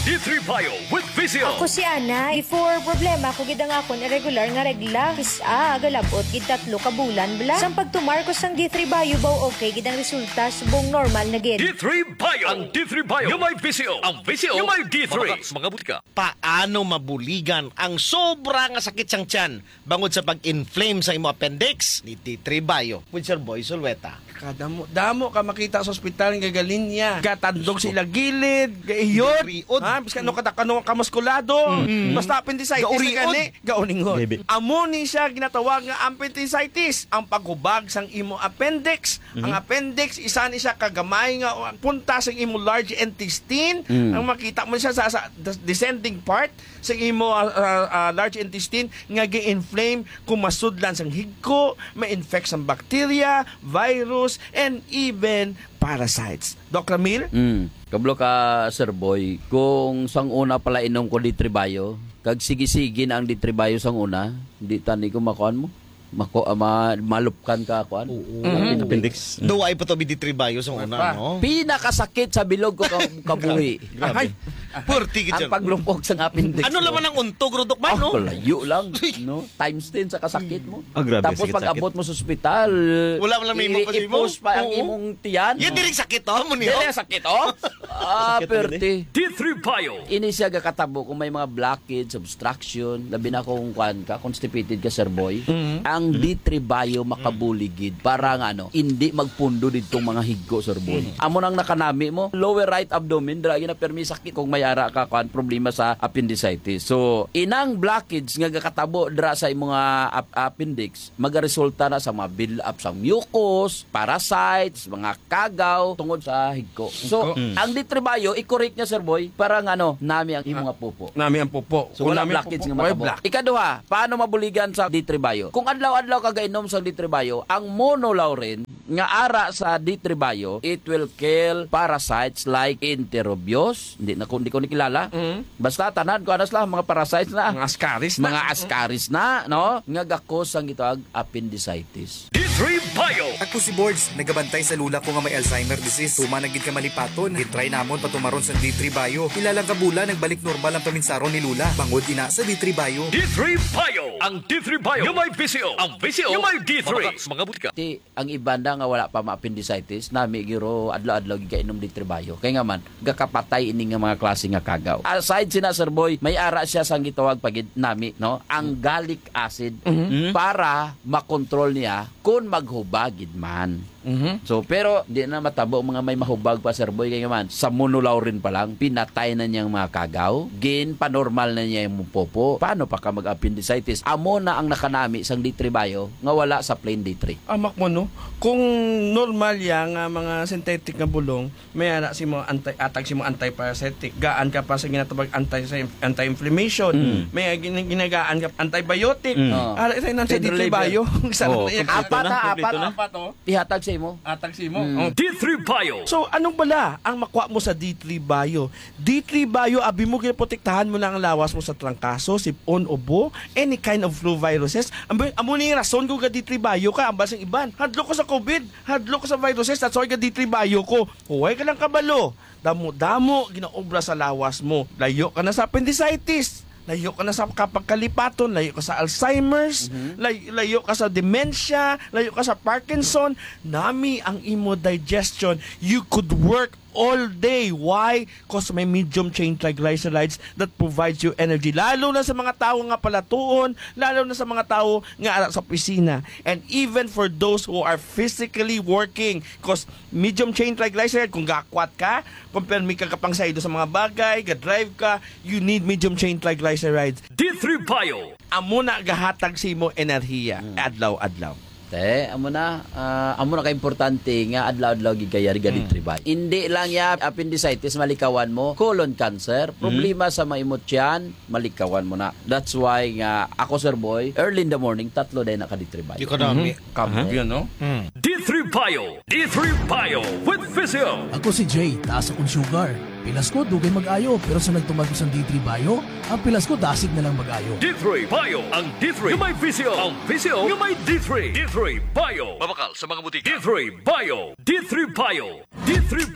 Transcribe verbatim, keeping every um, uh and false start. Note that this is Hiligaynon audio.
D three Bio with Visio. Ako si Ana. Before, problema ko gid ang akon irregular nga regla. Kis-a, agalabot gid tatlo ka bulan bala. Sang pagtumar ko sang D three Bio, baw okay gid ang resulta, subong normal na gid. D three Bio. Ang D three Bio nga may Visio. Ang Visio nga may D three. Mabakal sa mga butika. Paano mabuligan ang sobra nga sakit sang tiyan bangod sa pag-inflame sa imo appendix? Ni D three Bio with Sir Boy Sulweta. Kadamo, damo ka makita sa ospital nga galinya, gatandog sa ila gilid, gaiyot. Gauriod. Ha, bisan ano ka, ano ka muskulado. Mm. Basta appendicitis na Gauriod. Gani, gauningon. Maybe. Amo ni siya ginatawag nga appendicitis, ang paghubag sang imo appendix. Mhm. Ang appendix, isa ni siya kagamay nga punta sang imo large intestine. Mm. Ang makita mo siya sa, sa descending part sa imo, ah, ah, ah, large intestine nga gi-inflame, kumasudlan sang higko, ma-infect sang bacteria, virus, and even parasites. Doc Ramil? Mm. Kablo ka, Sir Boy, kung sang una pala inom ko D three Bio, kag sige-sige na ang D three Bio sang una, di tani ko makuan mo? Mako-, ah, ma-, malupkan ka, kuan? Oo. Mhm. Appendix. Daw ay pa to, D three Bio sang una, Pa. no? Pinakasakit sa bilog ko ka-, kabuhi. Grabe. Ay. Purti gid Ang siya. paglupok sa appendix Ano ko. naman ang untog, Rodok, ba, Ah, no? kalayo lang, Uy. no? Times ten sa kasakit mo. Ah, grabe, Tapos sakit, pag sakit. abot mo sa ospital, Wala man lang may imo kasi mo. iipos pa ang Oo. imong tiyan. Yan, diri sakit, oh, mo niyo. Diri sakit, oh. Ah, Sakit na perte. D three Bio. Ini siya gakatabo kung may mga blockage, obstruction, labi na kung kuan ka, constipated ka, Sir Boy. Mhm. Ang D three Bio makabuligid para nga, ano, hindi magpundo didtong mga higko, Sir Boy. Mhm. Amo nang nakanami mo, lower right abdomen, dira gina permi sakit kung may ara ka, kuan, problema sa appendicitis. So, inang blockage nga gakatabo dira sa imong, ah, ap-, appendix, magaresulta na sa mga build-up sa mucus, parasites, mga kagaw tungod sa higko. So, Higko. Mm. ang D three Bio, i-correct niya, Sir Boy, para nga, ano, nami ang imo Ah, nga pupo. nami ang pupo. So, Kung wala nami ang blockage pupo, nga wala matabo. black. Ikaduha, paano mabuligan sa D three Bio? Kung adlaw-adlaw ka gainom sa D three Bio, ang monolaurin nga ara sa D three Bio, it will kill parasites like Enterobius. Hindi na ko, hindi ko nakilala. Mm. Basta tanan ko anas lang, mga parasites na. Mga ascaris na. Mga ascaris na, no? Nga gakos ang gitawag appendicitis. D three Bio. Ako si Borge, nagabantay sa lula ko nga may Alzheimer disease. Tuman na gid ka malipaton. Gitry namon patumaron sa D three Bio. Pila lang ka bulan, nagbalik normal ang paminsaron ni Lula. Bangod ina sa D three Bio. D three Bio. Ang D three Bio nga may Visio. Ang Visio nga may D three. Mabakal sa mga butika. Ti, ang iban na nga wala pa ma-appendicitis, nami giro adlaw-adlaw gid kainom D three Bio. Kay nga man, gakapatay ini nga mga klase nga kagaw. Aside sina, Sir Boy, may ara siya sang gitawag pa gid nami, no? Ang gallic acid Mhm. Mm. para makontrol niya kung maghubag gid man. Mhm. So, pero di na matabo ang mga may mahubag pa, Sir Boy, kay nga man, sa monolaurin pa lang, pinatay na niyang mga kagaw, gin panormal na niya yung popo. Paano pa ka mag-appendicitis? Amo na ang nakanami sang D three Bio nga wala sa plain D three. Amak mo, no? Kung normal ya nga mga synthetic nga bulong, may ara si mo anti-, atag si mo antiparasitic. Gaan ka pa sa ginatawag anti-, anti-inflammation. Mm. May gin-, ginagaan ka antibiotic. Mm. Oo. Ara sa inan sa Pain D three reliever. Bio. Isa Oo, lang na yan. Kompleto Apat na, na, kompleto apat na. na. Apat, oh. Ihatag sa imo. Atag si mo. Mm. Oh. D three Bio. So, anong bala ang makuha mo sa D three Bio? D three Bio, abi mo, ginaprotektahan mo na ang lawas mo sa trangkaso, sipon, ubo, any kind of flu viruses. Amo, amo ni rason ko ga D three Bio ka, ang basang iban. Hadlok ko sa COVID, hadlok ko sa viruses, that's why ga D three Bio ko. Huway ka lang kabalo. Damo-damo, ginaobra sa lawas mo. Layo ka na sa appendicitis. Layo ka na sa kapagkalipaton, layo ka sa Alzheimer's, Mhm. lay-, layo ka sa dementia, layo ka sa Parkinson. Nami ang imo digestion. You could work all day. Why? 'Cause may medium chain triglycerides that provides you energy. Lalo na sa mga tawo nga palatuon, lalo na sa mga tawo nga ara sa opisina. And even for those who are physically working, 'cause medium chain triglyceride, kung gakwat ka, kung permi ka kapangsaydo sa mga bagay, ga-drive ka, you need medium chain triglycerides. D three Bio. Amo na gahatag sa imo enerhiya Mm. adlaw-adlaw. Te, amo na, ah, amo na ka-importante nga adlaw-adlaw gid kaya riga Mm. D three Bio. Hindi lang ya appendicitis malikawan mo, colon cancer, Mm-hmm. problema sa maimot tiyan, malikawan mo na. That's why nga ako, Sir Boy, early in the morning, tatlo day na ka D three Bio. Di ka dami. Mhm. Kamo. Aha. Yun, no? Mm. D three Bio. D three Bio with Visio. Ako si Jay, taas akong sugar. Pilas ko, dugay mag-ayo, pero sa nagtuman ko sa D three Bio, ang pilas ko dasig na lang mag-ayo. D three Bio, ang D three nga may Visio. Ang Visio nga may D three. D three Bio. Mabakal sa mga butika. D three Bio. D three Bio. D three